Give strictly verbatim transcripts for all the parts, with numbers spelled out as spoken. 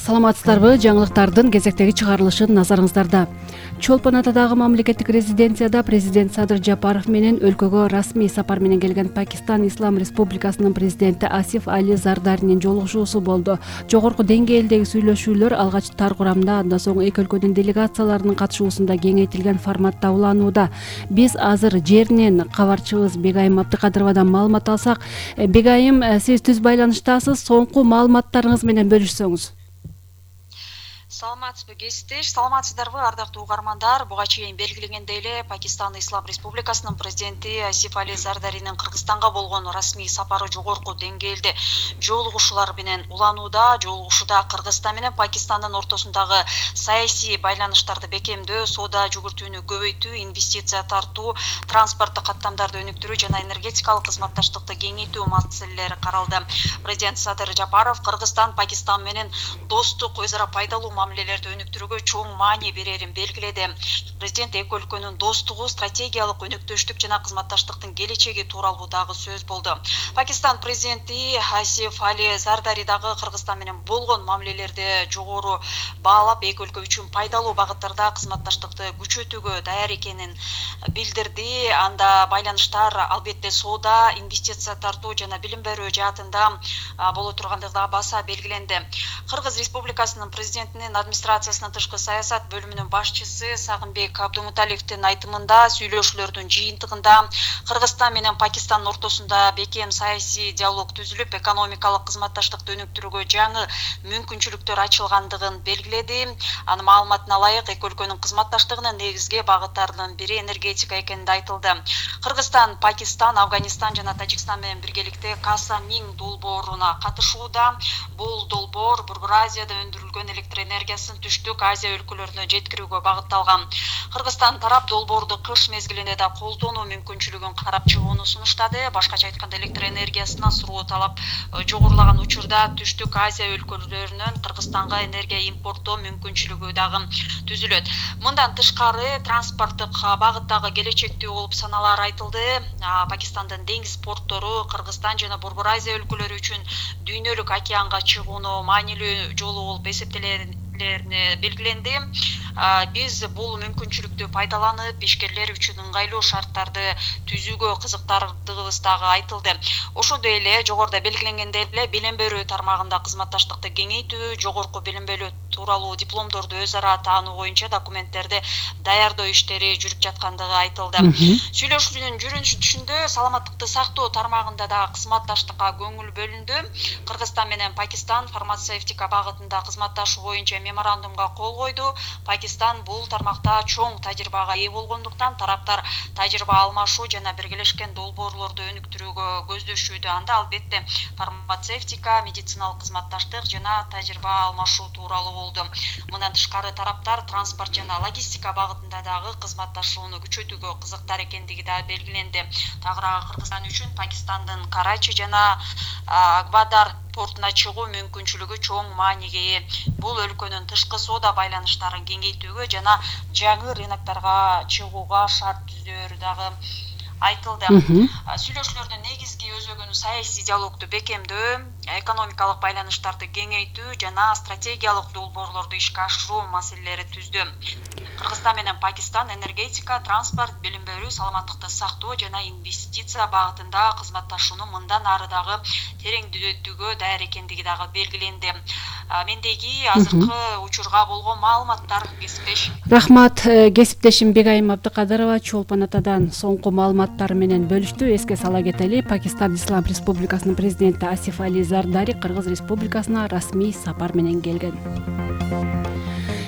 Саламатсыздарбы? Жаңылыктардын кезектеги чыгарылышын назарыңыздарда. Чолпон Атадагы мамлекеттик резиденцияда президент Садыр Жапаров менен өлкөгө расмий сапар менен келген Пакистан Ислам Республикасынын президенти Асиф Али Зардаринин жолугушуусу болду. Жогорку деңгээлдеги сүйлөшүүлөр алгач тар курамда, андан соң эки өлкөнүн делегацияларынын катышуусунда кеңейтилген форматта уланууда. Биз азыр жеринен кабарчыбыз Бегайым Абдыкадыровадан маалымат алсак, Бегайым, сиз түз байланыштасыз, соңку маалыматтарыңыз менен бөлүшсөңүз. Саламатсызбы кесиптеш, саламатсыздарбы ардактуу угармандар. Буга чейин белгиленгендей эле Пакистан Ислам Республикасынын президенти Асиф Али Зардаринин Кыргызстанга болгон расмий сапары жогорку деңгээлде жолугушуулар менен уланууда. Жолугушууда Кыргызстан менен Пакистандын ортосундагы саясий байланыштарды бекемдөө, соода жүгүртүүнү көбөйтүү, инвестиция тартуу, транспорттук каттамдарды өнүктүрүү жана энергетикалык кызматташтыкты кеңейтүү маселелери каралды. Президент Садыр Жапаров Кыргызстан Пакистан менен достук, өз ара пайдалуу мамилелерди өнүктүрүүгө чоң маани берерин белгиледи. Президент эки өлкөнүн достугу, стратегиялык өнөктөштүк жана кызматташтыктын келечеги тууралуу дагы сөз болду. Пакистан президенти Асиф Али Зардари дагы Кыргызстан менен болгон мамилелерди жогору баалап, эки өлкө үчүн пайдалуу багыттарда кызматташтыкты күчөтүүгө даяр экенин билдирди. Анда байланыштар албетте соода, инвестиция тартуу жана билим берүү жаатында боло тургандыгы баса белгиленди. Кыргыз Республикасынын президентинин администрациясынын тышкы саясат бөлүмүнүн башчысы Сагынбек Абдумуталиевдин айтымында, сүйлөшүүлөрдүн жыйынтыгында Кыргызстан менен Пакистандын ортосунда бекем саясий диалог түзүлүп, экономикалык кызматташтыкты өнүктүрүүгө жаңы мүмкүнчүлүктөр ачылгандыгын белгиледи. Анын маалыматына ылайык, эки өлкөнүн кызматташтыгынын негизги багыттарынын бири энергетика экенинде айтылды. Кыргызстан, Пакистан, Афганистан жана Тажикстан менен биргеликте Каса Миң долбооруна катышууда. Бул долбоор Борбор Азияда өндүрүлгөн электр энергиясын түштүк Азия өлкөлөрүнө жеткирүүгө багытталган. Кыргызстан тарап долбоорду кыш мезгилинде да колдонуу мүмкүнчүлүгүн карап чыгууну сунуштады. Башкача айтканда, электр энергиясына суроо талап жогорулаган учурда түштүк Азия өлкөлөрүнөн Кыргызстанга энергия импорттоо мүмкүнчүлүгү дагы түзүлөт. Мындан тышкары транспорттук багыттагы келечектүү болуп саналар айтылды. Пакистандын деңиз порттору Кыргызстан жана Борбор Азия өлкөлөрү үчүн дүйнөлүк океанга чыгууну маанилүү жолу болуп эсептелерин белгиленди. Биз бул мүмкүнчүлүктү пайдаланып, ишкерлер үчүн ыңгайлуу шарттарды түзүүгө кызыктардыгыбыз дагы айтылды. Ошондой эле жогоруда белгиленгендей эле билим берүү тармагында кызматташтыкты кеңейтүү, жогорку билим берүү тууралуу дипломдорду өз ара таануу боюнча документтерди даярдоо иштери жүрүп жаткандыгы айтылды. Сүйлөшүүнүн жүрүшүндө саламаттыкты сактоо тармагында да кызматташтыкка көңүл бөлүндү. Кыргызстан менен Пакистан фармацевтика багытында кызматташуу боюнча меморандумга кол койду. Пакистан бул тармакта чоң тажрыйбага ээ болгондуктан тараптар тажрыйба алмашуу жана биргелешкен долбоорлорду өнүктүрүүгө көздөшүүдө. Анда албетте фармацевтика, медициналык кызматташтык жана тажрыйба алмашуу тууралуу болду. Мындан тышкары тараптар транспорт жана логистика багытында дагы кызматташууну күчөтүүгө кызыктар экендиги да белгиленди. Тагыраагы Кыргызстан үчүн Пакистандын Карачи жана Гвадар портуна чыгуу мүмкүнчүлүгү чоң мааниге ээ. Бул өлкөнүн тышкы соода байланыштарын кеңейтүүгө жана жаңы рынокторго чыгууга шарт түзөөрү дагы айтылды. Сүйлөшүүлөрдүн негизги өзөгүнү саясий диалогду бекемдөө, экономикалык байланыштарды кеңейтүү жана стратегиялык долбоорлорду ишке ашыруу маселелери түздү. Кыргызстан менен Пакистан энергетика, транспорт, билим берүү, саламаттыкты сактоо жана инвестиция багытында кызматташууну мындан ары дагы тереңдетүүгө даяр экендиги дагы белгиленди. Мендеги азыркы учурга болгон маалыматтар кесиптеш. Рахмат, кесиптешим Бегайым Абдыкадырова Чолпон Атадан соңку маалыматтар менен бөлүштү. Эске сала кетели, Пакистан Ислам Республикасынын президенти Асиф Али Зардари Кыргыз Республикасына расмий сапар менен келген.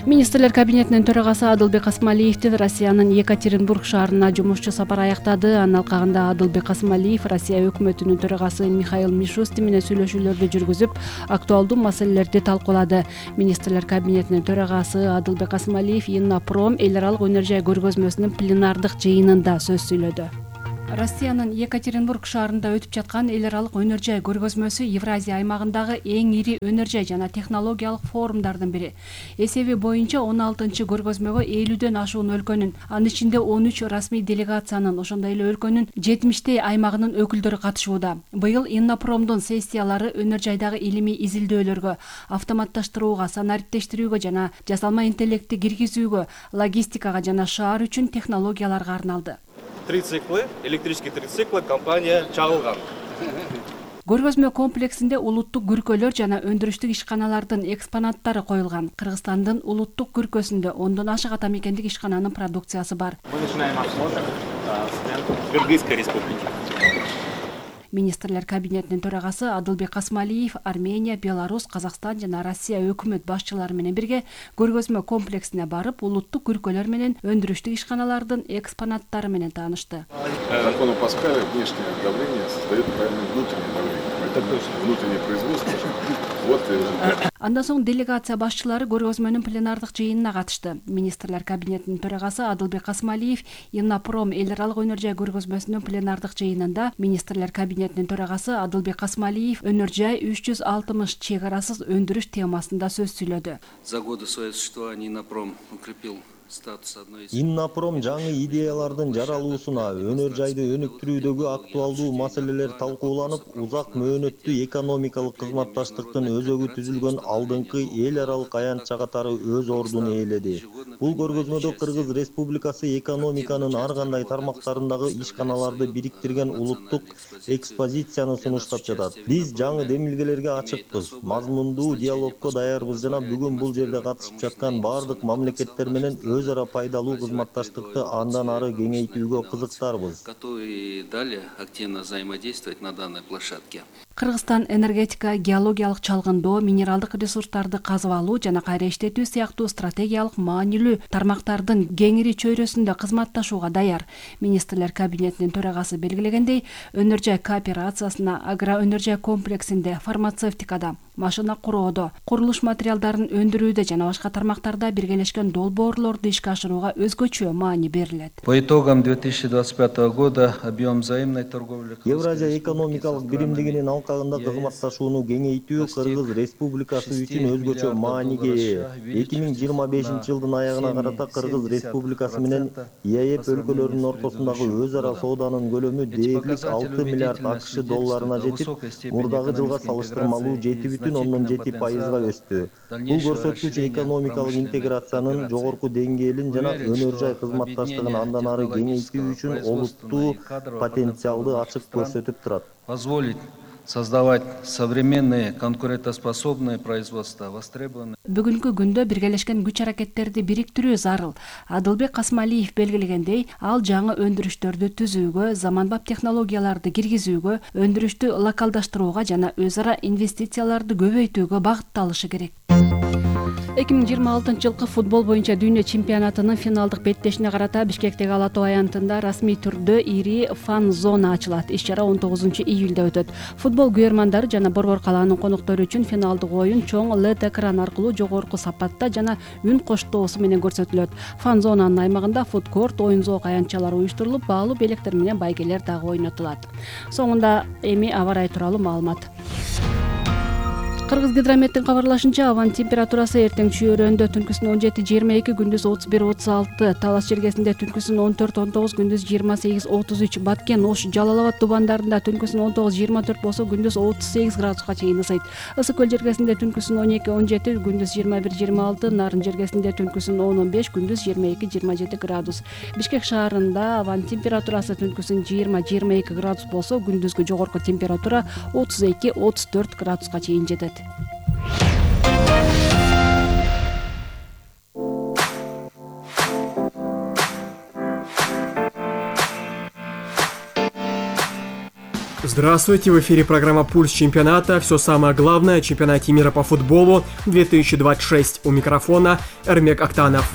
Министрлер кабинетинин төрагасы Адылбек Асмалиевдин Россиянын Екатеринбург шаарына жумушчу сапары аяктады. Анын алкагында Адылбек Асмалиев Россия өкмөтүнүн төрагасы Михаил Мишустин менен сүйлөшүүлөрдү жүргүзүп, актуалдуу маселелерди талкуулады. Министрлер кабинетинин төрагасы Адылбек Асмалиев Иннопром эл аралык өнөр жай көргөзмөсүнүн пленардык жыйынында сөз сүйлөдү. Россиянын Екатеринбург шаарында өтүп жаткан эл аралык өнөр жай көргөзмөсү Евразия аймагындагы эң ири өнөр жай жана технологиялык форумдардын бири. Эсеби боюнча он алтынчы көргөзмөгө элүүдөн ашуун өлкөнүн, анын ичинде он үч расмий делегациянын, ошондой эле өлкөнүн жетимиштей аймагынын өкүлдөрү катышууда. Быйыл Иннопромдун сессиялары өнөр жайдагы илимий изилдөөлөргө, автоматташтырууга, санариптештирүүгө жана жасалма интеллектти киргизүүгө, логистикага жана шаар үчүн технологияларга арналды. Трициклы, электрический трициклы компания чагылган. Көргөзмө комплексинде улуттук күркөлөр жана өндүрүштүк ишканалардын экспонаттары коюлган. Кыргызстандын улуттук күркөсүндө ондон ашык ата мекендик ишкананын продукциясы бар. Мы начинаем осмотр с Кыргызской республики. Министрлер кабинетинин төрагасы Адылбек Касмалиев Армения, Беларусь, Казакстан жана Россия өкмөт башчылары менен бирге көргөзмө комплексине барып, улуттук күркөлөр менен өндүрүштүк ишканалардын экспонаттары менен таанышты. Закону Паскаля внешнее давление создает правильное внутреннее давление. Это точно внутреннее производство. Вот результат. Андан соң делегация башчылары көргөзмөнүн пленардык жыйынына катышты. Министрлер кабинетинин төрагасы Адылбек Касмалиев Иннопром эл аралык өнөр жай көргөзмөсүнүн пленардык жыйынында министрлер кабинетинин төрагасы Адылбек Касмалиев өнөр жай үч жүз алтымыш чек арасыз өндүрүш темасында сөз сүйлөдү. За годы своего существования Иннопром укрепил статус одной из... Иннопром жаңы идеялардын жаралуусуна, өнөр жайды өнүктүрүүдөгү актуалдуу маселелер талкууланып, узак мөөнөттүү экономикалык кызматташтыктын өзөгү түзүлгөн алдыңкы эл аралык аянтча катары өз ордун ээледи. Бул көргөзмөдө Кыргыз Республикасы экономиканын ар кандай тармактарындагы ишканаларды бириктирген улуттук экспозицияны сунуштап жатат. Биз жаңы демилгелерге ачыкпыз, мазмундуу диалогко даярбыз жана бүгүн бул жерде катышып жаткан бардык мамлекеттер менен өз ара пайдалуу кызматташтыкты андан ары кеңейтүүгө кызыктарбыз. Готовы далее активно взаимодействовать на данной площадке. Кыргызстан энергетика, геологиялык чалгындоо, минералдык ресурстарды казып алуу жана кайра иштетүү сыяктуу стратегиялык маанилүү тармактардын кеңири чөйрөсүндө кызматташууга даяр. Министрлер кабинетинин төрагасы белгилегендей, өнөр жай кооперациясына, агроөнөр жай комплексинде, фармацевтикада, машина куроодо, курулуш материалдарын өндүрүүдө жана башка тармактарда биргелешкен долбоорлорду ишке ашырууга өзгөчө маани берилет. По итогам две тысячи двадцать пятого года объем взаимной торговли... Евразия экономикалык биримдигинин алкагында кызматташууну кеңейтүү Кыргыз Республикасы үчүн өзгөчө мааниге ээ. эки миң жыйырма бешинчи жылдын аягына карата Кыргыз Республикасы менен ЕАЭП өлкөлөрүнүн ортосундагы өз ара сооданын көлөмү дээрлик алты миллиард АКШ долларына жетип, мурдагы жылга салыштырмалуу жети бүтүн ондон жети пайызга өстү. Бул көрсөткүч экономикалык интеграциянын жогорку деңгээлин жана өнөр жай кызматташтыгын андан ары кеңейтүү үчүн олуттуу потенциалды ачык көрсөтүп турат. Позволить создавать современные конкурентоспособные производства, востребованные. Бүгүнкү күндө биргелешкен күч аракеттерди бириктирүү зарыл. Адылбек Касмалиев белгилегендей, ал жаңы өндүрүштөрдү түзүүгө, заманбап технологияларды киргизүүгө, өндүрүштү локалдаштырууга жана өз ара инвестицияларды көбөйтүүгө багытталышы керек. эки миң жыйырма алтынчы жылкы футбол боюнча дүйнө чемпионатынын финалдык беттешине карата Бишкектеги Ала Тоо аянтында расмий түрдө ири фан зона ачылат. Иш-чара он тогузунчу июлда өтөт. Футбол күйөрмандары жана Борбор калаанын коноктору үчүн финалдык оюн чоң эл и ди экран аркылуу жогорку сапатта жана үн коштоосу менен көрсөтүлөт. Фан зонанын аймагында фудкорт, оюн-зоок аянтчалары уюштурулуп, баалуу белектер менен байгелер дагы ойнотулат. Соңунда эми аба ырайы тууралуу маалымат. Кыргыз гидрометтин кабарлашынча, абанын температурасы эртең чүйөрөндө түнкүсүн он жети жыйырма эки, күндүз отуз бир отуз алты, Талас жергесинде түнкүсүн он төрт он тогуз, күндүз жыйырма сегиз отуз үч, Баткен, Ош, Жалал Абад тубандарында түнкүсүн он тогуз жыйырма төрт болсо, күндүз отуз сегиз градуска чейин ысыйт. Ысык көл жергесинде түнкүсүн он эки он жети, күндүз жыйырма бир жыйырма алты, Нарын жергесинде түнкүсүн он он беш, күндүз жыйырма эки жыйырма жети градус. Бишкек шаарында абанын температурасы түнкүсүн жыйырма жыйырма эки градус болсо, күндүзгү жогорку температура отуз эки отуз төрт градуска чейин жетет. Здравствуйте, в эфире программа «Пульс чемпионата». Все самое главное о чемпионате мира по футболу две тысячи двадцать шесть. У микрофона Эрмек Актанов.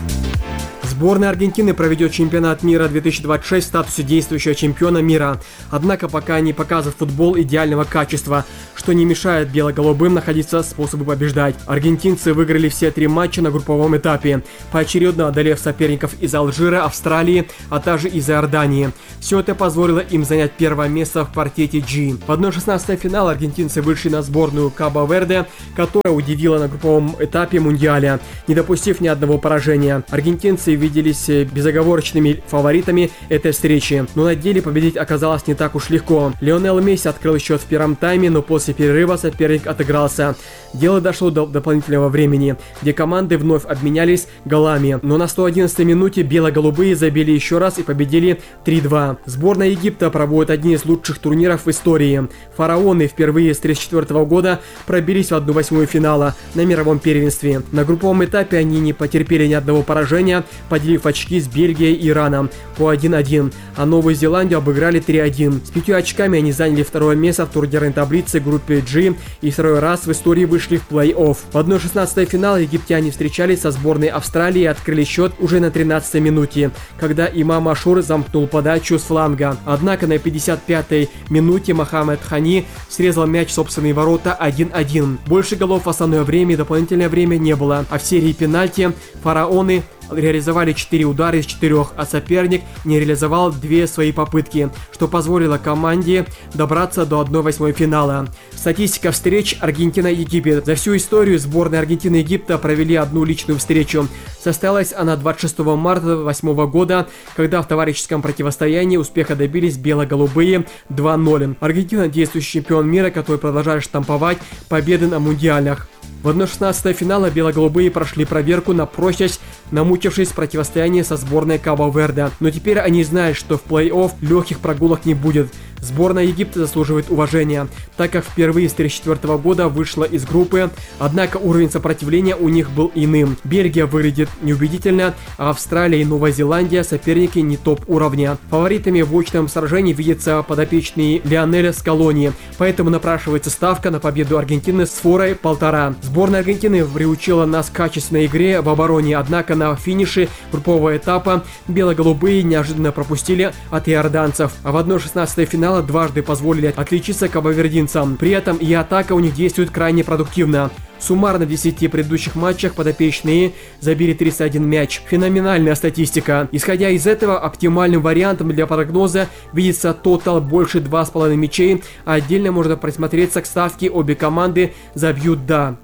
Сборная Аргентины проведет чемпионат мира две тысячи двадцать шесть в статусе действующего чемпиона мира. Однако пока не показывает футбол идеального качества, что не мешает бело-голубым находиться способы побеждать. Аргентинцы выиграли все три матча на групповом этапе, поочередно одолев соперников из Алжира, Австралии, а также из Иордании. Все это позволило им занять первое место в квартете G. В одна шестнадцатая финала аргентинцы вышли на сборную Кабо-Верде, которая удивила на групповом этапе Мундиаля, не допустив ни одного поражения. Аргентинцы виделись безоговорочными фаворитами этой встречи, но на деле победить оказалось не так уж легко. Лионел Месси открыл счет в первом тайме, но после перерыва соперник отыгрался. Дело дошло до дополнительного времени, где команды вновь обменялись голами, но на сто одиннадцатой минуте бело-голубые забили еще раз и победили три-два. Сборная Египта проводит один из лучших турниров в истории. Фараоны впервые с тысяча девятьсот тридцать четвёртого года пробились в одну восьмую финала на мировом первенстве. На групповом этапе они не потерпели ни одного поражения, поделив очки с Бельгией и Ираном по один-один, а Новую Зеландию обыграли три-один. С пятью очками они заняли второе место в турнирной таблице группы G и второй раз в истории вышли в плей-офф. В одна шестнадцатая финала египтяне встречались со сборной Австралии и открыли счет уже на тринадцатой минуте, когда Имам Ашур замкнул подачу с фланга. Однако на пятьдесят пятой минуте Мохаммед Хани срезал мяч в собственные ворота один-один. Больше голов в основное время и дополнительное время не было, а в серии пенальти фараоны реализовали четыре удара из четырех, а соперник не реализовал две свои попытки, что позволило команде добраться до одной восьмой финала. Статистика встреч Аргентина-Египет. За всю историю сборной Аргентины и Египта провели одну личную встречу. Состоялась она двадцать шестого марта две тысячи восьмого года, когда в товарищеском противостоянии успеха добились бело-голубые два-ноль. Аргентина – действующий чемпион мира, который продолжает штамповать победы на мундиалях. В одна шестнадцатая финала бело-голубые прошли проверку на прочность, намучившись в противостоянии со сборной Кабо-Верде. Но теперь они знают, что в плей-офф легких прогулок не будет. Сборная Египта заслуживает уважения, так как впервые с тысяча девятьсот тридцать четвёртого года вышла из группы, однако уровень сопротивления у них был иным. Бельгия выглядит неубедительно, а Австралия и Новая Зеландия соперники не топ-уровня. Фаворитами в очном сражении видятся подопечные Лионеля Скалони, поэтому напрашивается ставка на победу Аргентины с форой полтора. Сборная Аргентины приучила нас к качественной игре в обороне, однако на финише группового этапа бело-голубые неожиданно пропустили от иорданцев, а в одна шестнадцатая финала дважды позволили отличиться кабовердинцам. При этом и атака у них действует крайне продуктивно. Суммарно в десяти предыдущих матчах подопечные забили тридцать один мяч. Феноменальная статистика. Исходя из этого, оптимальным вариантом для прогноза видится тотал больше два с половиной мячей, а отдельно можно присмотреться к ставке «Обе команды забьют да».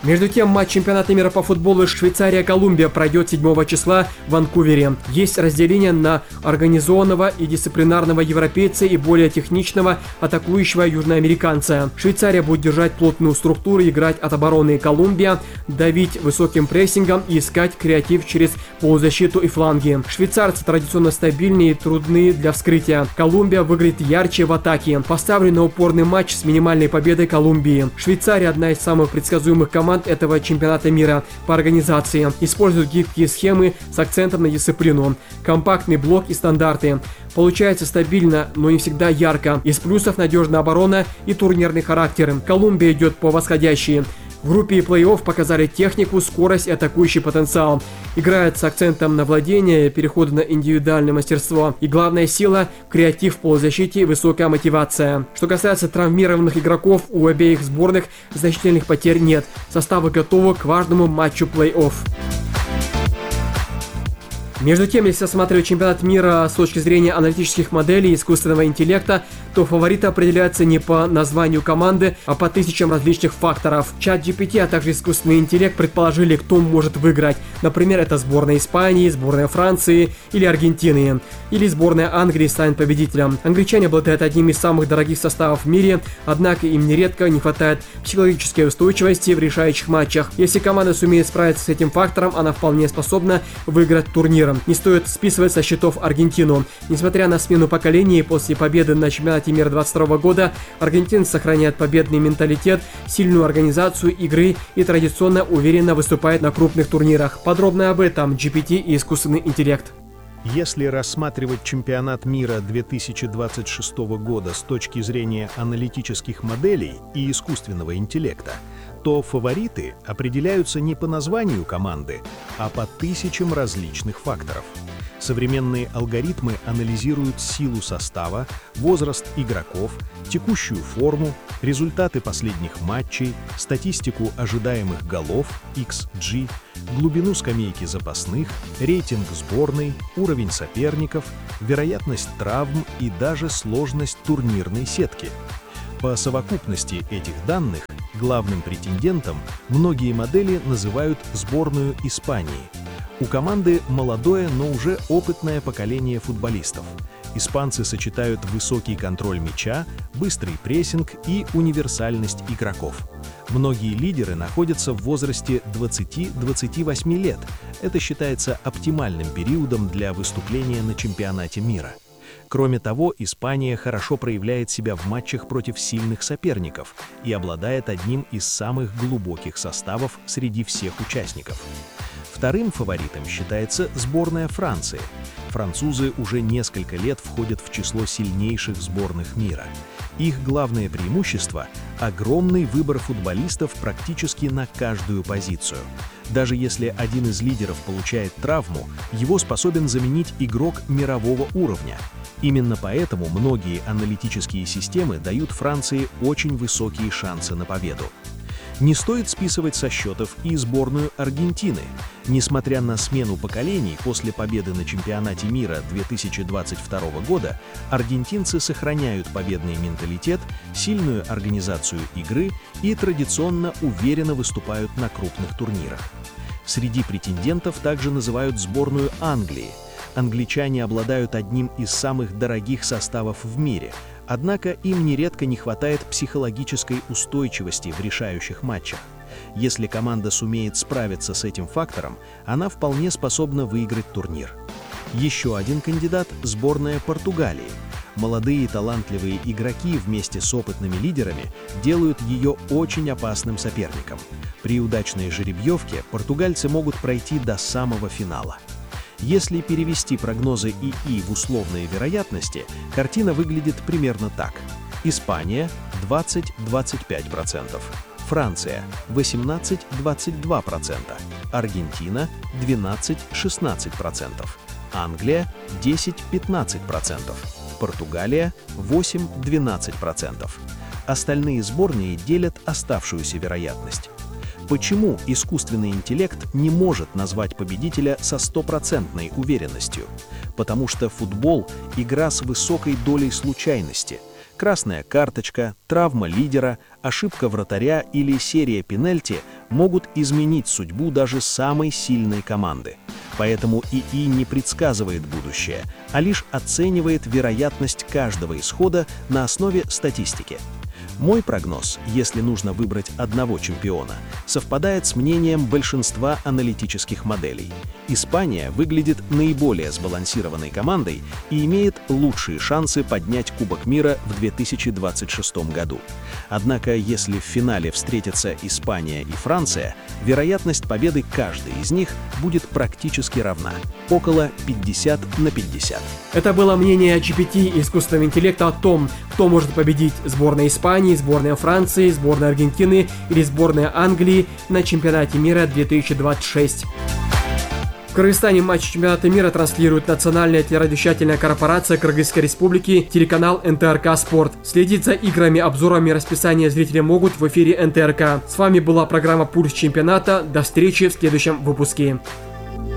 Между тем, матч чемпионата мира по футболу Швейцария-Колумбия пройдет седьмого числа в Ванкувере. Есть разделение на организованного и дисциплинарного европейца и более техничного атакующего южноамериканца. Швейцария будет держать плотную структуру, играть от обороны. Колумбия давить высоким прессингом и искать креатив через полузащиту и фланги. Швейцарцы традиционно стабильнее и трудны для вскрытия. Колумбия выглядит ярче в атаке. Поставлен на упорный матч с минимальной победой Колумбии. Швейцария одна из самых предсказуемых команд этого чемпионата мира по организации. Используют гибкие схемы с акцентом на дисциплину, компактный блок и стандарты. Получается стабильно, но не всегда ярко. Из плюсов надежная оборона и турнирный характер. Колумбия идет по восходящей. В группе и плей-офф показали технику, скорость и атакующий потенциал. Играют с акцентом на владение, переходы на индивидуальное мастерство. И главная сила – креатив в полузащите и высокая мотивация. Что касается травмированных игроков, у обеих сборных значительных потерь нет. Составы готовы к важному матчу плей-офф. Между тем, если осматривать чемпионат мира с точки зрения аналитических моделей искусственного интеллекта, то фавориты определяются не по названию команды, а по тысячам различных факторов. чат джи пи ти, а также искусственный интеллект предположили, кто может выиграть. Например, это сборная Испании, сборная Франции или Аргентины. Или сборная Англии станет победителем. Англичане обладают одним из самых дорогих составов в мире, однако им нередко не хватает психологической устойчивости в решающих матчах. Если команда сумеет справиться с этим фактором, она вполне способна выиграть турнир. Не стоит списывать со счетов Аргентину. Несмотря на смену поколений, после победы на чемпионате мира двадцать второго года аргентинцы сохраняют победный менталитет, сильную организацию игры и традиционно уверенно выступают на крупных турнирах. Подробно об этом джи пи ти и искусственный интеллект. Если рассматривать чемпионат мира две тысячи двадцать шестого года с точки зрения аналитических моделей и искусственного интеллекта, то фавориты определяются не по названию команды, а по тысячам различных факторов. Современные алгоритмы анализируют силу состава, возраст игроков, текущую форму, результаты последних матчей, статистику ожидаемых голов, икс джи, глубину скамейки запасных, рейтинг сборной, уровень соперников, вероятность травм и даже сложность турнирной сетки. По совокупности этих данных главным претендентом многие модели называют сборную Испании. У команды молодое, но уже опытное поколение футболистов. Испанцы сочетают высокий контроль мяча, быстрый прессинг и универсальность игроков. Многие лидеры находятся в возрасте двадцати-двадцати восьми лет. Это считается оптимальным периодом для выступления на чемпионате мира. Кроме того, Испания хорошо проявляет себя в матчах против сильных соперников и обладает одним из самых глубоких составов среди всех участников. Вторым фаворитом считается сборная Франции. Французы уже несколько лет входят в число сильнейших сборных мира. Их главное преимущество – огромный выбор футболистов практически на каждую позицию. Даже если один из лидеров получает травму, его способен заменить игрок мирового уровня. Именно поэтому многие аналитические системы дают Франции очень высокие шансы на победу. Не стоит списывать со счетов и сборную Аргентины. Несмотря на смену поколений после победы на чемпионате мира две тысячи двадцать второго года, аргентинцы сохраняют победный менталитет, сильную организацию игры и традиционно уверенно выступают на крупных турнирах. Среди претендентов также называют сборную Англии. Англичане обладают одним из самых дорогих составов в мире, однако им нередко не хватает психологической устойчивости в решающих матчах. Если команда сумеет справиться с этим фактором, она вполне способна выиграть турнир. Еще один кандидат – сборная Португалии. Молодые талантливые игроки вместе с опытными лидерами делают ее очень опасным соперником. При удачной жеребьевке португальцы могут пройти до самого финала. Если перевести прогнозы ИИ в условные вероятности, картина выглядит примерно так. Испания – двадцать — двадцать пять процентов, Франция – восемнадцать — двадцать два процента, Аргентина – двенадцать — шестнадцать процентов, Англия – десять — пятнадцать процентов, Португалия – восемь — двенадцать процентов. Остальные сборные делят оставшуюся вероятность. Почему искусственный интеллект не может назвать победителя со стопроцентной уверенностью? Потому что футбол – игра с высокой долей случайности. Красная карточка, травма лидера, ошибка вратаря или серия пенальти могут изменить судьбу даже самой сильной команды. Поэтому ИИ не предсказывает будущее, а лишь оценивает вероятность каждого исхода на основе статистики. Мой прогноз, если нужно выбрать одного чемпиона, совпадает с мнением большинства аналитических моделей. Испания выглядит наиболее сбалансированной командой и имеет лучшие шансы поднять Кубок мира в две тысячи двадцать шестом году. Однако, если в финале встретятся Испания и Франция, вероятность победы каждой из них будет практически равна – около пятьдесят на пятьдесят. Это было мнение джи пи ти искусственного интеллекта о том, кто может победить: сборная Испании, сборная Франции, сборная Аргентины или сборная Англии на чемпионате мира две тысячи двадцать шесть. В Кыргызстане матч чемпионата мира транслирует национальная телерадиовещательная корпорация Кыргызской республики, телеканал эн тэ эр ка Спорт. Следить за играми, обзорами и расписанием зрители могут в эфире эн тэ эр ка. С вами была программа «Пульс чемпионата». До встречи в следующем выпуске.